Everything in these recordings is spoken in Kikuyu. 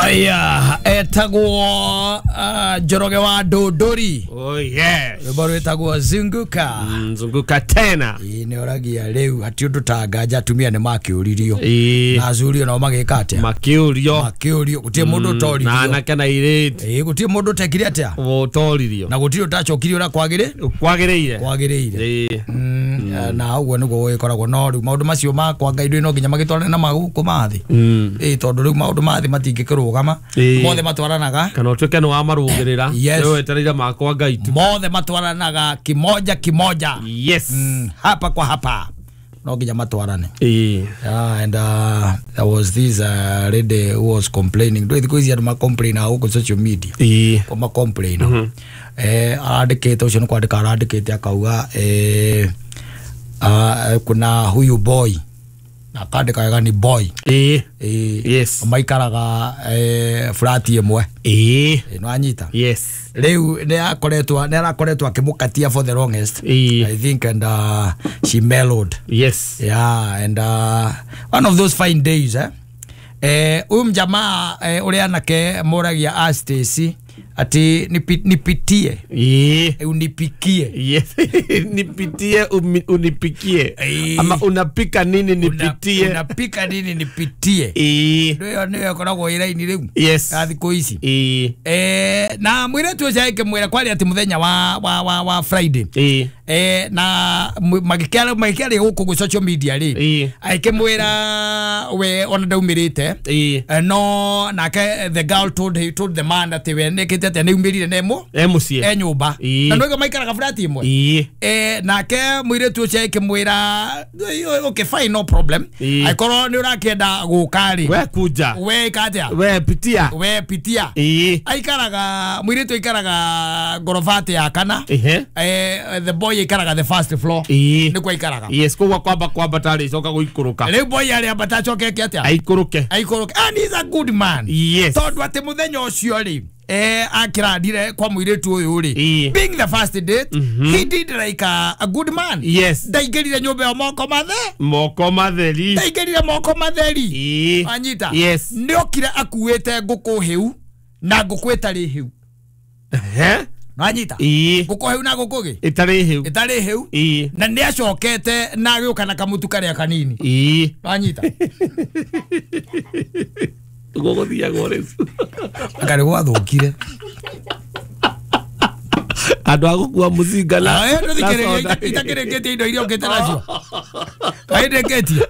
Aya etagwo Njoroge wa Ndũndũri. Oh yes. Rwĩmbo rwĩtagwo Zunguka. Zunguka tena. Ĩĩ nĩ oragia rĩu hati ũndũ ta nganja atumia nĩ makĩũririo. Na acurio nao magĩka atĩa? Makĩũrio. Makĩũrio gũtirĩ mũndũ ũtoririo. Na anake na airĩtu. Ĩĩ gũtirĩ mũndũ ũtekire atĩa? Ũtoririo. Na gũtirĩ ũtacokirie ũrĩa kwagĩrĩire. Kwagĩrĩire. Kwagĩrĩire. Ĩĩ. Na ũguo nĩguo gũgĩkoragwo no rĩu maũndũ macio makwa Ngai ndũĩ no nginya magĩtwarane na magũkũ ma thĩ. Ĩĩ tondũ rĩu maũndũ ma thĩ matingĩkĩrũgama. Mothe matwaranaga. Kana ũtuĩke nĩ wamarũgĩrĩra. Yes. Rĩu wetereire makwa Ngai tu. Mothe matwaranaga kimoja kimoja. Yes. Hapa kwa hapa. No nginya matwarane. Ĩĩ. Yeah, and there was this lady who was complaining. Ndũĩ thikũ ici andũ ma complain gũkũ social media. Ĩĩ. Ko ma complain. Arandĩkĩte ũcio nĩ kwandĩka arandĩkĩte akauga kuna huyu boy. Na akandĩka wega ni boy. Ĩĩ. Ĩĩ. Yes. Maikaraga flat ĩmwe. Ĩĩ. No anyita. Yes. Rĩu nĩ arakoretwo akĩmũkatia for the longest. Ĩĩ. I think and she mellowed. Yes. Yeah, and one of those fine days huyu mjamaa ũrĩa anake moragia a Stacy ati nipitie. Ĩĩ. Unipikie. Yes. Nipitie unipikie. Ama unapika nini nipitie. Unapika nini nipitie. Ĩĩ. Ndio ndio ĩkoragwo ĩ raini rĩu. Yes. Ya thikũ ici. Ĩĩ. Na mũirĩtu ũcio akĩmwĩra kwarĩ atĩ mũthenya wa Friday. Ĩĩ. Na magĩkĩaria gũkũ gwĩ social media rĩ. Ĩĩ. Akĩmwĩra we ona ndaumĩrĩte. Ĩĩ. No nake the girl told the man that we nĩkĩte atĩa nĩumĩrire nemo. E mũciĩ. E nyũmba. Ĩĩ. Na nĩguo maikaraga flat ĩmwe. Ĩĩ. Nake mũirĩtu ũcio akĩmwĩra okay fine no problem. Angĩkorwo nĩ ũrakĩenda gũka rĩ. We kuja. We ĩka atĩa? We pitia. We pitia. Ĩĩ. Aikaraga mũirĩtu aikaraga ngorobati ya kana. Ehe. The boy aikaraga the first floor. Ĩĩ. Nĩkuo aikaraga. Yes, koguo kwamba tarĩ coka gũikũrũka. Rĩu boy arĩ ambata acoke eke atĩa? Aikũrũke. Aikũrũke. And he's a good man. Yes. Tondũ atĩ mũthenya ũcio rĩ akĩrandire kwa mũirĩtu ũyũ rĩ. Ĩĩ. Being the first date, he did like a good man. Yes. Ndaingĩrire nyũmba ĩyo moko mathe. Moko matheri. Ndaingĩrire moko matheri. Ĩĩ. Anyita. Yes. Nĩokire akuĩte ngũkũ hĩu na ngũkũ ĩtarĩ hĩu. Ehe. Anyita. Ĩĩ. Ngũkũ hĩu na ngũkũ gĩ? Ĩtarĩ hĩu. Ĩtarĩ hĩu. Ĩĩ. Na nĩacokete na agĩũka na kamũtu karĩa kanini. Ĩĩ. Anyita. Gũgũthiagwo rĩu. Akarĩ gwathũkire. Andũ a gũkua mũcinga na ndũthikĩrĩrie itakĩrĩkĩtie indo iria ũkĩte nacio. Kaindĩkĩtie.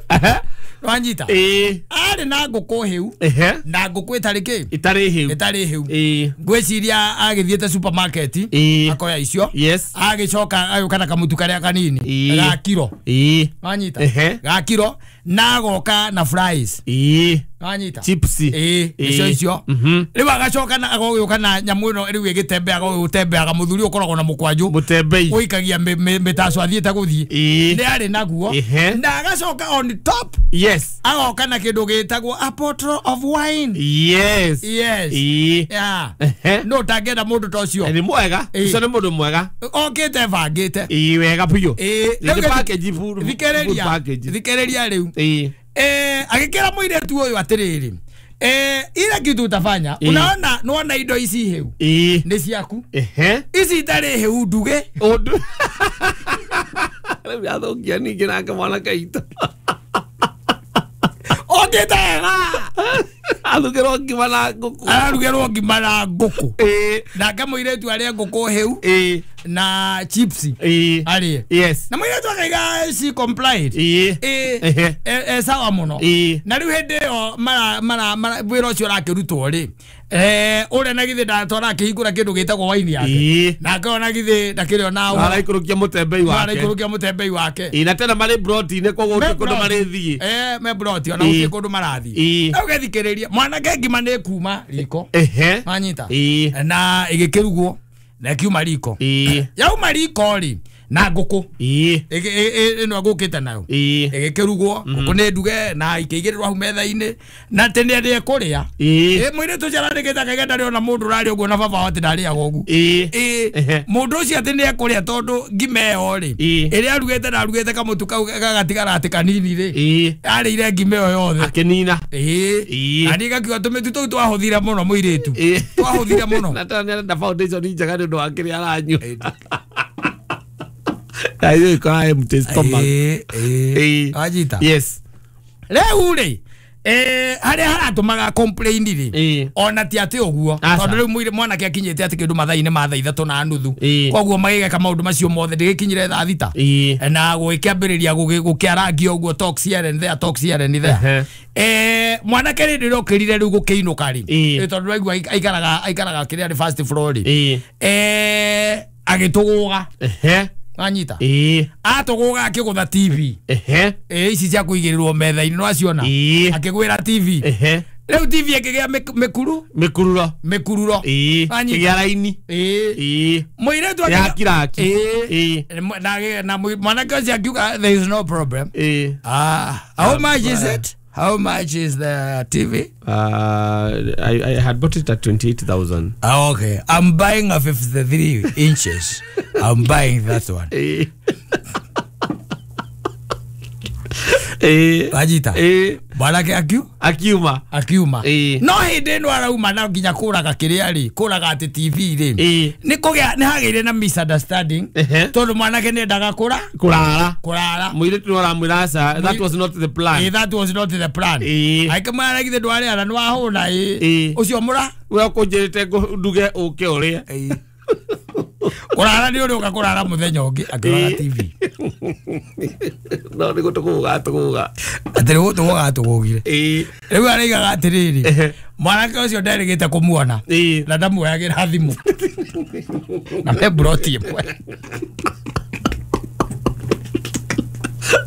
Wanyita. Ĩĩ. Arĩ na ngũkũ hĩu. Ehe. Na ngũkũ ĩtarĩ kĩ? Ĩtarĩ hĩu. Ĩtarĩ hĩu. Ĩĩ. Ngwĩciria agĩthiĩte supermarket. Ĩĩ. Akoya icio. Yes. Agĩcoka agĩũka na kamũtu karĩa kanini. Ĩĩ. Ga kiro. Ĩĩ. Wanyita. Ehe. Ga kiro na agoka na fries. Ĩĩ. Wanyita. Chips. Ĩĩ. Icio icio. Rĩu agacoka na agagĩũka na nyamũ ĩno rĩu ĩgĩtembeaga ũgĩtembeaga mũthuri ũkoragwo na mũkwanjũ. Mũtembei. Ũikagia mĩtaco athiĩte gũthiĩ. Ĩĩ. Nĩ arĩ naguo. Ehe. Na agacoka on top. Yes. Agoka na kĩndũ gĩtagwo a bottle of wine. Yes. Yes. Ĩĩ. Yeah. Ehe. No ũtangĩenda mũndũ ta ũcio. Nĩ mwega. Ĩĩ. Ũcio nĩ mũndũ mwega. Okĩte bangĩte. Ĩĩ wega biũ. Ĩĩ. Nĩ package full. Thikĩrĩria. Package. Thikĩrĩria rĩu. Ĩĩ. Agĩkĩra mũirĩtu ũyũ atĩrĩrĩ. Ile kitu utafanya. Unaona nuona indo ici hĩu. Ĩĩ. Nĩ ciaku. Ehe. Ici itarĩ hĩu nduge. Ũndũ. Rĩu athũkia ningĩ nake mwanake witũ. Okĩte wega. Arugĩrwo ngima na ngũkũ. Ararugĩrwo ngima na ngũkũ. Ĩĩ. Nake mũirĩtu arĩe ngũkũ hĩu. Ĩĩ. Na chips. Ĩĩ. Arĩe. Yes. Na mũirĩtu akaiga she complied. Ĩĩ. Ĩĩ. Ehe. Sawa mũno. Ĩĩ. Na rĩu hĩndĩ ĩyo mara wĩra ũcio ũrakĩrutwo rĩ. Ũrĩa na githĩ ndatwara akĩhingũra kĩndũ gĩtagwo wine yake. Ĩĩ. Nake ona githĩ ndakĩrĩ ona Araikũrũkia mũtembei wake. Araikũrũkia mũtembei wake. Ĩĩ na tena marĩ broti-inĩ koguo gũtirĩ kũndũ marĩthiĩ. Me broti ona gũtirĩ kũndũ marathiĩ. Ĩĩ. Rĩu ũgethikĩrĩria mwanake ngima nĩ kuma riko. Ehe. Wanyita. Ĩĩ. Na ĩgĩkĩrugwo na ĩkiuma riko. Ĩĩ. Yauma riko rĩ Na ngũkũ. Ĩĩ. Ĩno agũkĩte nayo. Ĩĩ. Ĩgĩkĩrugwo, ngũkũ nĩ nduge na ikĩigĩrĩrwo hau metha-inĩ na atĩ nĩ arĩe kũrĩa. Ĩĩ. Ĩ mũirĩtu ũcio arandĩkĩte akaiga ndarĩ ona mũndũ ũrarĩa ũguo na baba wao atĩ ndarĩaga ũguo. Ĩĩ. Ĩ Ehe. mũndũ ũcio atĩ nĩ ekũrĩa tondũ ngima ĩyo rĩ Ĩĩ. ĩrĩa arugĩte na arugĩte kamũtu kau gagatigara atĩ kanini rĩ Ĩĩ. arĩire ngima ĩyo yothe. Akĩnina. Ĩĩ. Ĩĩ. Na niĩ ngakiuga tũmĩtu tũu twahũthire mũno mũirĩtu. Ĩĩ. Twahũthire mũno. Na tena nĩarenda foundation njega nĩ ũndũ wa kĩrĩa aranyua. Na hiyo iko empty stomach. Ĩĩ, ĩĩ. Ĩĩ. Wanyita? Yes. Rĩu rĩ harĩa haratũmaga complain rĩ Ĩĩ. ona ti atĩ ũguo Aca. tondũ rĩu mwanake akinyĩte atĩ kĩndũ mathaa-inĩ ma 3:30 Ĩĩ. koguo magĩgeka maũndũ macio mothe ndĩgĩkinyire 6:00 Ĩĩ. na gũgĩkĩambĩrĩria gũkĩarangia ũguo talks here and there, talks here and there. Ehe. Mwanake rĩ ndĩrokĩrire rĩu gũkĩinũka rĩ Ĩĩ. tondũ raigua aikaraga kĩrĩa nĩ first floor rĩ Ĩĩ. Agĩtũgũga. Ehe. Wanyita? Ĩĩ. Atũgũga akĩgũtha TV. Ehe. Ici cia kũigĩrĩrwo metha-inĩ nĩwaciona? Ĩĩ. Akĩgwĩra TV. Ehe. Rĩu TV ĩkĩgĩa mĩkuru Mĩkururo. mĩkururo. Ĩĩ. Wanyita? Kĩgĩa raini. Ĩĩ. Ĩĩ. Mũirĩtu Ya kiraki. Ĩĩ. Ĩĩ. Na mwanake ũcio akiuga there is no problem. Ĩĩ. How much is it? How much is the TV? I had bought it at 28,000. Okay. I'm buying a 53 inches. I'm buying that one. Ĩĩ. Ĩĩ. Wanyita? Ĩĩ. Mwanake Akiuma. akiuma. Ĩĩ. No hĩndĩ ĩno arauma na nginya kũraga kĩrĩa rĩ, kũraga atĩ TV rĩ. Ĩĩ. Nĩ kũgĩa nĩ hagĩire na misunderstanding. Ehe. Tondũ mwanake nĩ endaga kũra Kũrara. kũrara. Mũirĩtu nĩ aramwĩra aca. That was not the plan. Ĩĩ, that was not the plan. Ĩĩ. Akĩmwĩra githĩ ndwarĩara nĩ wahũna ĩĩ. Ĩĩ. Ũcio mũra We ũkũnjĩrĩte nduge ũke ũrĩe. Ĩĩ. Kũrara nĩ ũrĩ ũka kũrara mũthenya ũngĩ akĩrora Ĩĩ. TV. No nĩ gũtũgũga tũgũga. Atĩ nĩ gũtũgũga atũgũgire. Ĩĩ. Rĩu araigaga atĩrĩrĩ Ehe. mwanake ũcio nderĩgĩte kũmuona Ĩĩ. na ndamuoyagĩra thimũ na me mburoti ĩmwe.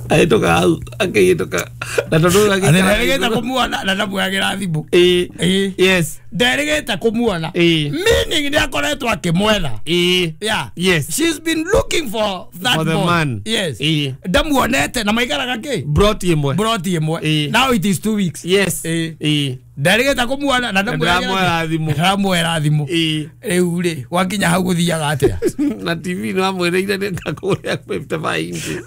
Ahĩtũka hau akĩhĩtũka. Na tondũ Atĩ nderĩgĩte kũmuona na ndamuoyagĩra thimũ. Ĩĩ. Ĩĩ. Yes. Nderĩgĩte kũmuona. Ĩĩ. Meaning nĩ akoretwo akĩmwetha. Ĩĩ. Yeah. Yes. She's been looking for that For the boy. man. Yes. Ĩĩ. Ndamuonete na maikaraga kĩ? Broti ĩmwe. Mburoti ĩmwe. Ĩĩ. Now it is 2 weeks. Yes. Ĩĩ. Ĩĩ. Nderĩgĩte kũmuona na Ndĩramuoera thimũ. Ndĩramuoera thimũ. Ĩĩ. Rĩu rĩ gwakinya hau gũthiaga atĩa? Na TV nĩ wamwĩrĩire nĩ ngakũrĩa 55 inches.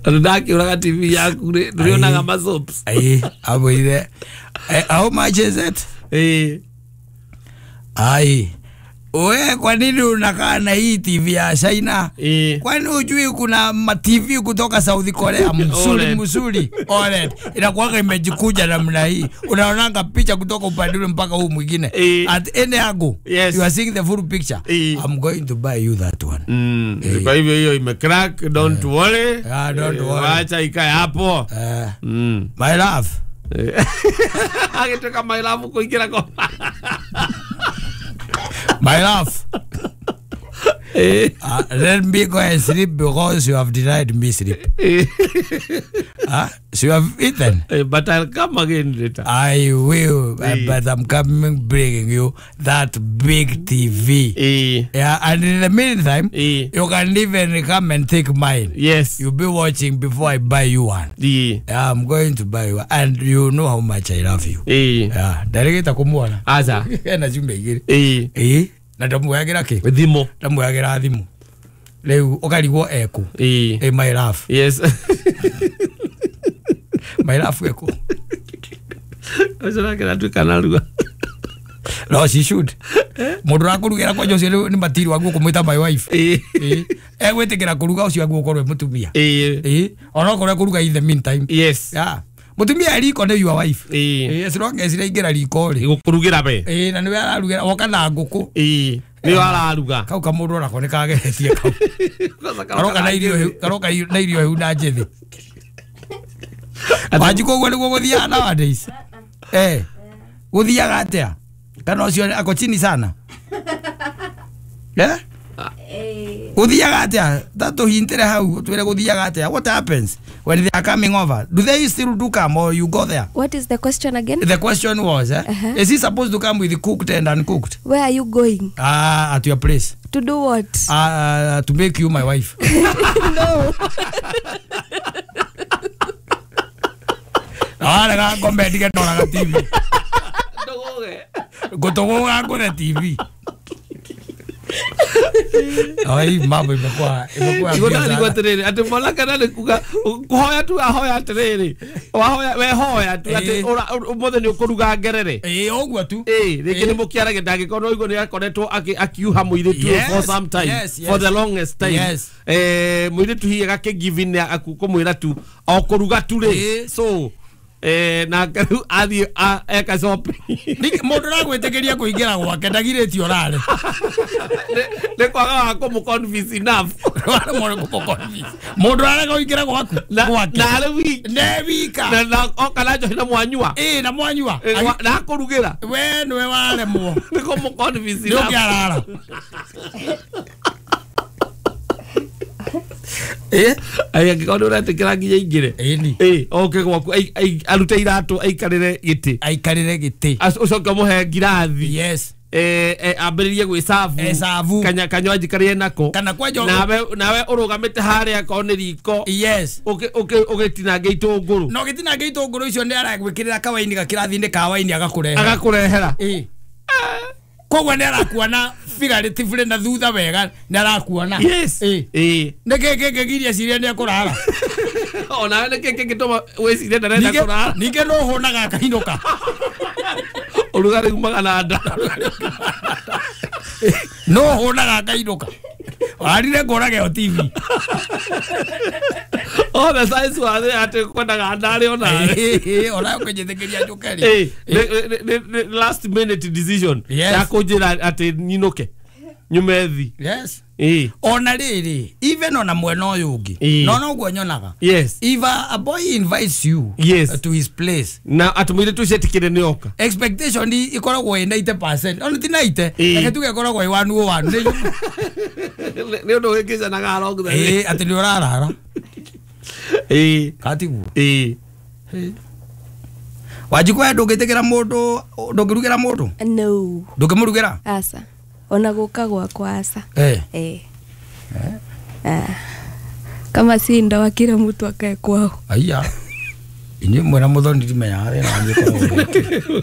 Tondũ ndakĩũraga TV yaku rĩ ndũrĩonaga ma soaps. Ĩĩ, amwĩrire how much is it? Ĩĩ. Ai. We kwa nini unakaa na hii TV ya China? Ĩĩ. Kwani hujui kuna ma TV kutoka South Korea msuri OLED. msuri OLED inakuwaga imejikuja namna hii, unaonanga picha kutoka upande ule mpaka huu mwingine at any angle. Yes. You are seeing the full picture. I'm going to buy you that one. Kwa hivyo hiyo imecrack, don't worry. Don't worry. Wacha ikae hapo. My love. Agĩtuĩka my love kũingĩra kwa My love. Let me go and sleep because you have denied me sleep. So you have eaten. But I'll come again later. I will, but I'm coming bringing you that big TV. Yeah, and in the meantime, you can even come and take mine. Yes. You'll be watching before I buy you one. Yeah, I'm going to buy you one. And you know how much I love you. Yeah, ndarigita kumuona. Aza. Ena ciumia igĩrĩ. Na ndamuoyagĩra kĩ? Thimũ. Ndamuoyagĩra thimũ. Rĩu ũkarigwo ekũ. My love. Yes. My love ekũ. Ũcio nake aratuĩka narua. No, she should. Mũndũ ũrakũrugĩra kwanja ũcio nĩ matiri waguo kũmwĩta my wife. Egwĩtĩkĩra kũruga ũcio aguo ũkorwo e mũtumia. Onokorwo ekũruga in the meantime. Yes. Yeah. Mũtumia e riko nĩ your wife. As long as iraingĩra riko rĩ. Gũkũrugĩra we. Na nĩwe ararugĩra woka na ngũkũ. Nĩwe araruga. Kau kamũndũ onako nĩ kageretie kau. Karoka na irio hĩu, karoka na irio hĩu na njĩthĩ. Wanjikũ ũguo nĩguo gũthiaga nowadays. Gũthiaga atĩa? Kana ũcio ako chini sana? Gũthiaga atĩa? Ta tũhintĩre hau ũtwĩre gũthiaga atĩa? What happens? When they are coming over, do they still do come or you go there? What is the question again? The question was, is he supposed to come with cooked and uncooked? Where are you going? At your place. To do what? To make you my wife. No. Arega ngombe ndige ndoraga TV. Ngũtũgũga ngũre TV. Ai mambo imekuwa imekuwa atiriri ati mwanake na nĩ kuga kuhoya tu ahoya atiriri wahoya we hoya tu ati ũmũthĩ nĩ ũkũruga ngerere. Ĩĩ ũguo tu. Ĩĩ rĩngĩ nĩ mũkĩarage ndangĩkorwo no igua nĩ akoretwo akiuha mũirĩtu for some time, for the longest time. Mũirĩtu hihi agakĩ in kũmwĩra tu o kũruga tu rĩ, so na rĩu athiĩ eka shopping. Mũndũ ũragwĩtĩkĩria kũingĩra gwake ndagirĩtio ũrare. Nĩ kwaga wa kũmũ convince enough. Mũndũ ũrarega kũingĩra gwaku gwake na arĩ wiki nĩ wika na oka na njohi na mwanyua. Ĩĩ na mwanyua na akũrugĩra we nĩwe waremwo nĩ kũmũ convince nĩ enough. Ũkĩarara. Ai angĩkorwo nĩ ũretĩkĩra nginya aingĩre oke gwaku arute iratũ aikarĩre gĩtĩ, aikarĩre gĩtĩ, ũcoke ũmũhe ngirathi. Yes. Ambĩrĩrie gwĩcabu kanywaji karĩa enako kana kwanjo nawe ũrũgamĩte harĩa akorwo nĩ riko. Yes. Ũgĩtinangia itũngũrũ no gĩtinangia itũngũrũ icio nĩ aragwĩkĩrĩra kawaini gakĩrathi-inĩ ka waini agakũrehera. Koguo nĩ arakuona figuratively na thutha wega nĩ arakuona. Yes. Nĩ kĩ kĩngĩgiria ciria nĩ ekũrara? Ona nĩ kĩ kĩngĩtũma wĩcirie ndarenda kũrara? Ningĩ no ũhũnaga akainũka. Ũrugarĩ umaga na nda. No ũhũnaga akainũka. Warire ngũrage o TV. Oh, the size wa thĩ atĩ kwendaga ndarĩ ona. Ona ũkĩnjĩtĩkĩria njũke rĩ. Last minute decision ya kũnjĩra atĩ nyinũke nyume thi. Yes. Ona rĩrĩ even ona mwena ũyũ ũngĩ no noguo nyonaga. Yes. If a boy invites you, yes, to his place na atĩ mũirĩtu ũcio etĩkĩre nĩ oka, expectation ikoragwo ĩ 90% ona ti 90, reke tuge ĩkoragwo ĩ 101. Nĩ ũndũ wĩkĩcanaga along the way atĩ nĩ ũrarara. Katiguo. Wanjikũ we ndũngĩtĩkĩra mũndũ, ndũngĩrugĩra mũndũ? No. Ndũngĩmũrugĩra? Aca. Ona gũka gwakwa aca. Kama si ndawa kila mtu akae kwao. Aya. Inyuĩ mwena mũthoni ndimenyaga thĩna wanyu ũkoragwo.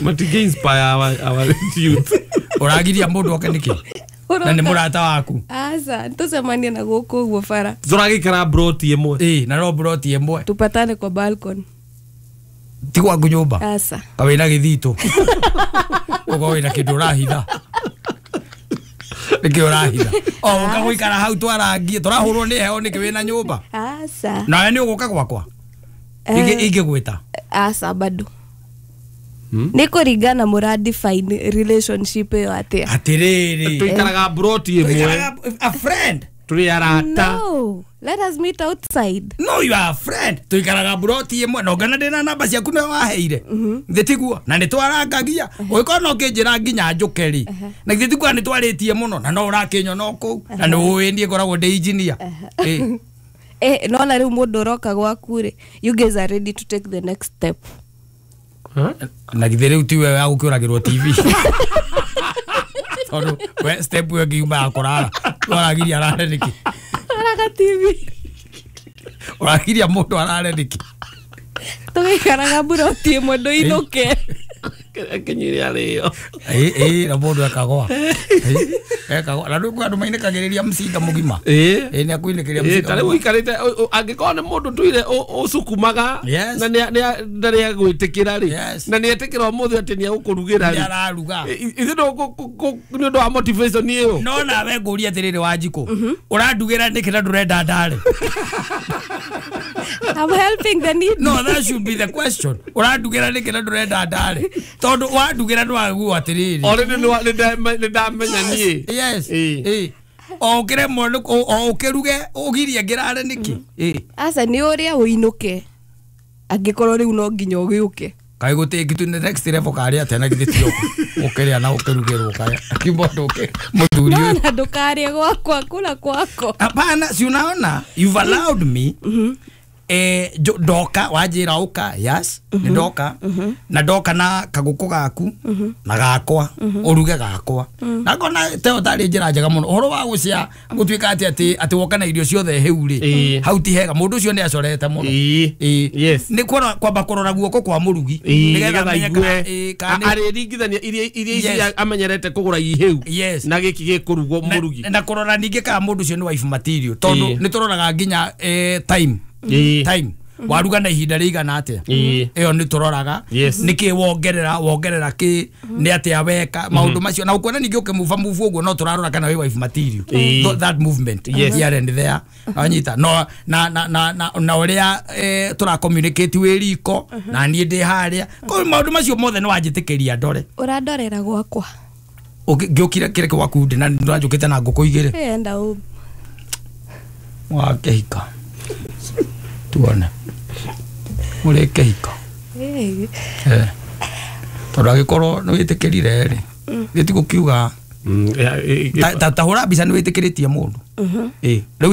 Matingĩ inspire our youth. Ũragiria mũndũ oke nĩkĩ? Na nĩ mũrata waku? Aca, tũcemanie na gũkũ ũguo bara. Tũragĩikara broti ĩmwe. Ĩĩ, na no broti ĩmwe. Tupatane kwa balcony. Ti gwaku nyũmba? Aca. Ka wĩna gĩthitũ? Ũkorwo wĩna kĩndũ ũrahitha. Nĩkĩ ũrahitha? O ũka gũikara hau twarangie, tũrahũrwo nĩ heho nĩkĩ wĩna nyũmba? Aca. Nawe nĩ ũgũka gwakwa? Ingĩgwĩta? Aca bado. Nĩ kũringana mũra define relationship ĩyo atĩa. Atĩrĩrĩ. Tũikaraga broti ĩmwe. A friend. Tũrĩ arata. No, let us meet outside. No, you are a friend. Tũikaraga broti ĩmwe na ũngana ndĩna namba ciaku nĩwe waheire. Githĩ tiguo? Na nĩ twarangagia. Ũgĩkorwo no ũkĩnjĩra nginya njũke rĩ. Na githĩ tiguo nĩ twarĩtie mũno na no ũrakĩnyona o kũu na nĩ ũĩ niĩ ngoragwo ndĩ engineer. Nona rĩu mũndũ ũroka gwaku rĩ, you guys are ready to take the next step. Na githĩ rĩu tiwe wa gũkĩũragĩrwo TV. Tondũ we step ĩyo ĩngiuma ya kũrara. Ũragiria arare nĩkĩ? Araga TV. Ũragiria mũndũ arare nĩkĩ? Tũgĩikaraga mburoti ĩmwe ndũinũke. Kinyire arĩo. Na mũndũ ekagwa. Ekagwa. Na rĩu kwĩ andũ mainĩkagĩrĩria mũcinga mũgima. Nĩ akuinĩkĩria mũcinga. Ta rĩu ũikarĩte angĩkorwo nĩ mũndũ tũire ũcukumaga na ndarĩ agwĩtĩkĩra rĩ, na nĩ etĩkĩra ũmũthĩ atĩ nĩ egũkũrugĩra rĩ. Nĩ araruga. Ithuĩ nĩ ũndũ wa motivation ĩyo. No nawe ngũrie atĩrĩrĩ Wanjikũ, ũrandugĩra nĩkĩ na ndũrenda ndare? I'm helping the need. No, that should be the question. Ũrandugĩra nĩkĩ na ndũrenda ndare? Tondũ wandugĩra ndwaguo atĩrĩrĩ. Already nĩ ndamenya niĩ. Yes. O ũkĩremwo o ũkĩruge ũgirie ngĩrare nĩkĩ? Aca nĩ ũrĩa ũinũke. Angĩkorwo rĩu no nginya ũgĩũke. Kaĩ gũtĩ to the next level karĩ atĩa na githĩ ti ũkĩrĩa na ũkĩrugĩrwo kaya akiuga ndũke mũthuri ũyũ. No ndũkarĩe gwakwa kula kwako. Hapana, si unaona you've allowed me. Ndoka wanjĩra ũka, yes, nĩ ndoka na ndoka na kagũkũ gaku na gakwa ũruge gakwa na ngona teo tarĩ njĩra njega mũno ũhoro wa gũcia gũtuĩka atĩ atĩ woka na irio ciothe hĩu rĩ hau ti hega mũndũ ũcio nĩ acorete mũno. Yes, nĩ kwamba kũrora guoko kwa mũrugi nĩgetha aigue arĩringithania iria ici amenyerete kũgũra ihĩu na gĩkĩ gĩkũrugwo mũrugi na kũrora ningĩ kana mũndũ ũcio nĩ wife material tondũ nĩ tũroraga nginya time time waruga na ihinda rĩigana atĩa ĩyo nĩ tũroraga nĩkĩ wongerera kĩ nĩ atĩa weka maũndũ macio na ũkuona ningĩ ũkĩmuba mubu ũguo no tũrarora kana wĩ wife material that movement here and there wanyita no na na na na ũrĩa tũra communicate wĩ riko na niĩ ndĩ harĩa koguo maũndũ macio mothe nĩ wanjĩtĩkĩria ndore. Ũrandorera gwakwa ngĩũkire kĩrĩa gwaku ndĩ na ndĩranjũkĩte na ngũkũ igĩrĩ enda ũ wakĩhika tuone mũrĩ kĩhiko tondũ angĩkorwo nĩ wĩtĩkĩrire rĩ gĩti gũkiuga ta hũra mbica nĩ wĩtĩkĩrĩtie mũndũ rĩu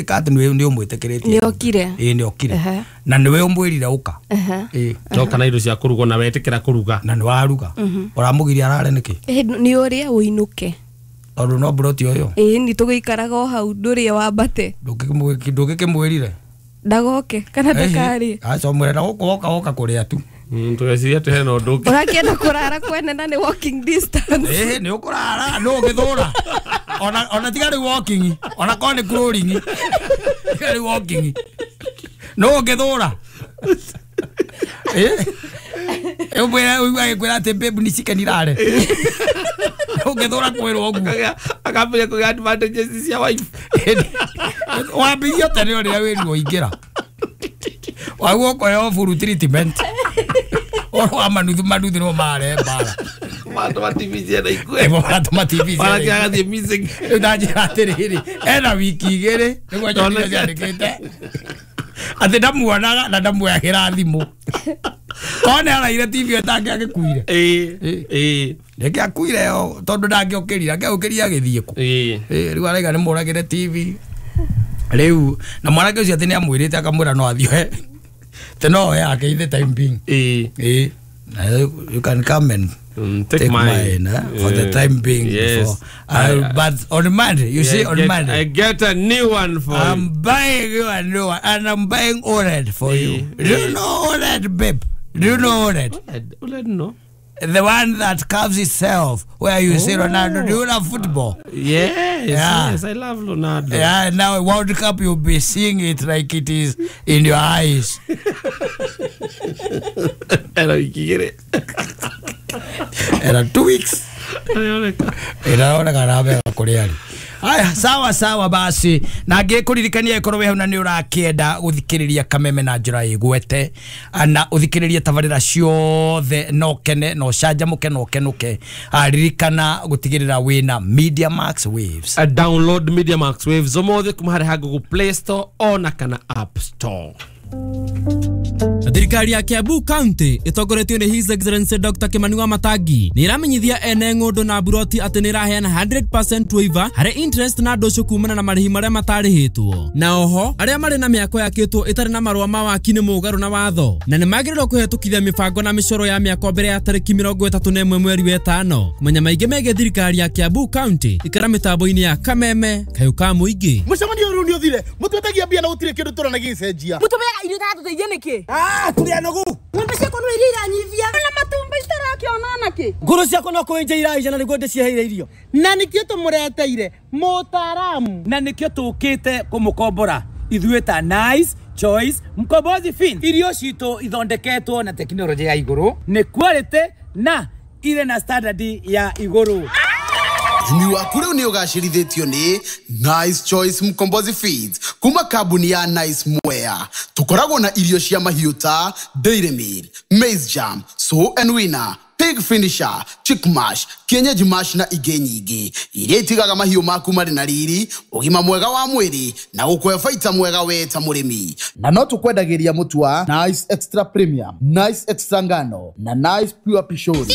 ĩka atĩ nĩ ũmwĩtĩkĩrĩtie nĩ okire na nĩwe ũmwĩrire ũka ndoka na indo cia kũrugwo na wetĩkĩra kũruga na nĩ waruga ũramũgiria arare nĩkĩ nĩ ũrĩa ũinũke tondũ no mburoti ũyũ nĩ tũgũikaraga o hau ndũrĩe wambate ndũngĩkĩmwĩrire ndagoke kana ndakarĩe aca ũmwĩre na gũkũ woka woka kũrĩa tu tũgeciria atĩ hena ũndũ ũngĩ ũrakĩenda kũrara kwene na nĩ walking distance nĩ ũkũrara nũ ũngĩthũra ona tiga rĩu walking ona korwo nĩ crawling tiga rĩu walking nũ ũngĩthũra ũmwĩre ũigua agĩkwĩra atĩ babe nĩ chicken irare ũngĩthũra kwĩrwo ũguo akambĩrĩria kũgĩa advantages cia wife wambirie tene ũrĩa wĩruo ingĩra waguo ũkoeo full treatment ũhoro wa manuthu manuthu nĩmo mare mbara matũma TV ciana ikue matũma TV ciana ikue agathiĩ missing rĩu ndanjĩra atĩrĩrĩ ena wiki igĩrĩ nĩguo nyonire ciandĩkĩte atĩ ndamuonaga na ndamuoyagĩra thimũ korwo nĩ araire TV ĩyo tangĩagĩkuire rĩngĩ akuire tondũ ndangĩũkĩrire angĩaũkĩrire agĩthiĩ kũ rĩu araiga nĩ mũragĩre TV rĩu na mwanake ũcio atĩ nĩ amwĩrĩte akamwĩra no athiĩ atĩ no oe yake the time being you can come and take mine for the time being. Yes. Before. But on Monday, you see, on Monday. I get a new one for you. I'm buying you a new one, and I'm buying OLED for you. Do you know OLED, babe? Do you know OLED? OLED, no. The one that curves itself, where you see Ronaldo. Do you love football? Yes, yeah. Yes, I love Ronaldo. Yeah, now World Cup, you'll be seeing it like it is in your eyes. Era 2 weeks. Ĩraoneka wega kũrĩa arĩ. Aya, sawa sawa basi na ngĩkũririkania ĩkorwo wĩ hau na nĩ ũrakĩenda gũthikĩrĩria Kameme na njĩra ĩgwete na ũthikĩrĩrie tabarĩra ciothe na ũkene na ũcanjamũke na ũkenũke, ririkana gũtigĩrĩra wĩna Media Max Waves. Download Media Max Waves ũmũthĩ kuma harĩ ha Google Play Store ona kana App Store. Thirikari ya Kiambu County ĩtongoretio nĩ His Excellency Dr. Kimani Wamatangi nĩ ĩramenyithia ene ng'ũndũ na mburoti atĩ nĩ ĩraheana 100% waiver harĩ interest na ndũcũ kumana na marĩhi marĩa matarĩhĩtwo, na oho arĩa marĩ na mĩako yakĩtwo ĩtarĩ na marũa ma waki nĩ mũgarũ na watho na nĩ magĩrĩirwo kũhetũkithia mĩbango na mĩcoro ya mĩako mbere ya tarĩki 31 mweri wa 5. Kũmenya maingĩ megiĩ thirikari ya Kiambu County ikara mĩtambo-inĩ ya Kameme kayũ ka mũingĩ. Mũcemanio ũyũ nĩ ũthire mũtwetagia mbia na gũtirĩ kĩndũ tũrona gĩgĩcenjia. Mũtũmeaga irio itatũteithia nĩkĩ? Tũrĩ anogu. Ng'ombe ciakwa no iria iranyivia na matumbi itarakĩona nakĩ. Ngũrũ ciakwa no kũenja iraija na nĩguo ndĩciheire irio. Na nĩkĩo tũmũreteire mũtaaramu. Na nĩkĩo tũkĩte kũmũkombora ithuĩ ta Nice Choice Mkombozi Fin. Irio citũ ithondeketwo na tekinoronjĩ ya igũrũ, nĩ quality na irĩ na standard ya igũrũ. Ũrĩmi waku rĩu nĩ ũgacĩrithĩtio nĩ Nice Choice Mkombozi Feeds kuma kambuni ya Nice Mwea. Tũkoragwo na irio cia mahiũ ta Dairy Meal, Maize Jam, Sow and Winner, Pig Finisher, Chick Mash, Kienyeji Mash na ingĩ nyingĩ iria itigaga mahiũ maku marĩ na riri, ũgima mwega wa mwĩrĩ na gũkũhe baita mwega we ta mũrĩmi. Na no tũkwendagĩria mũtu wa Nice Extra Premium, Nice Extra Ngano na Nice Pure Pishori.